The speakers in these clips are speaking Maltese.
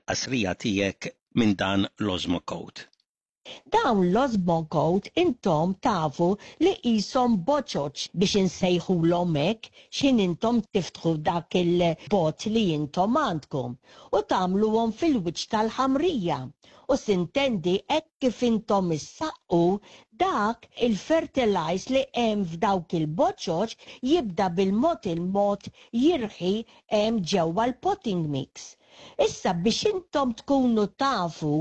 il-qasrija tiegħek minn dan l-Osmocote. Dawn l-Osmocote intom tafu li qishom boċoċ biex insejħulhom hekk x'ħin intom tiftħu dak il-bot li intom għandkom u tagħmluhom fil-wiċċ tal-ħamrija u sintendi hekk kif intom issaqqu dak il-fertilize li hemm f'dawk il-boċoċ jibda bil-mod il-mod jirħi hemm ġewwa l-potting mix. Issa biex intom tkunu tafu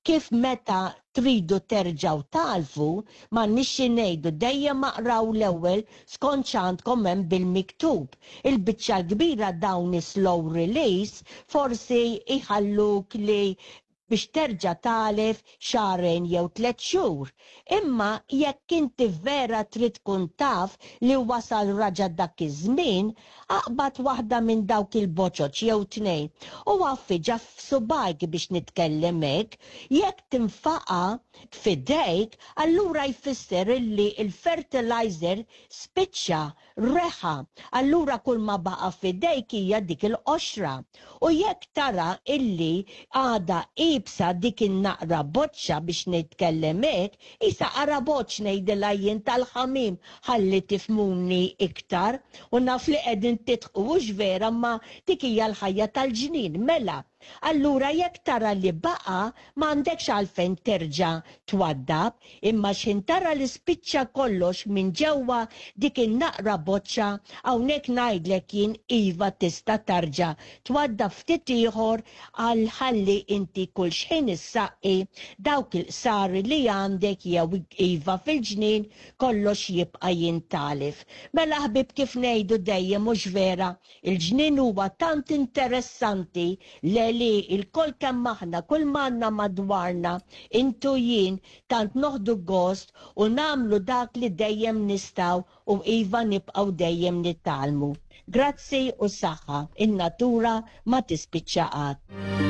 kif meta tridu terġgħu tagħlfu, m'għandniex xi ngħidu dejjem aqraw l-ewwel skont x'għandkom hemm bil-miktub. Il-biċċa l-kbira dawn is-slow release forsi jħalluk li biex terġa' tagħlef xahrejn jew tlett xhur. Imma jekk inti vera trid tkun taf li wasal raġa' dak iż-żmien, aqbad waħda minn dawk il-boċoċ jew tnejn u għaffiġha f'subgħajk biex nitkellem hekk, jekk tinfaqa' f'idejk allura jfisser illi l-fertilizer spiċċa reħa, allura kull ma baqa' f'idejk hija dik il-qoxra. U jekk tara illi għadha iebsa dik in-naqra boċċa biex nitkellem hekk, qisha qaraboċċ ngħidilha jien tal-ħamiem ħalli tifhmuni iktar, u naf li qegħdin tidħqu hux vera imma dik hija l-ħajja tal-ġnien. Mela, Allura jekk tara li baqa' m'għandekx għalfejn terġa' twaddab, imma x'ħin tara li spiċċa kollox minn ġewwa dik in-naqra boċċa, hawnhekk ngħidlek jien iva tista' tarġa' twaddab ftit ieħor għal ħalli inti kull x'ħin issaqqi dawk il-qsari li għandek jew iva fil-ġnien kollox jibqa' jintgħalef. Mela ħbieb kif ngħidu dejjem hux vera Il-ġnien huwa tant interessanti le li lkoll kemm aħna, kull m'għandna madwarna, int u jien, tant noħdu gost u nagħmlu dak li dejjem nistgħu u iva nibqgħu dejjem nitgħallmu. Grazzi u saħħa, in-natura ma tispiċċa qatt.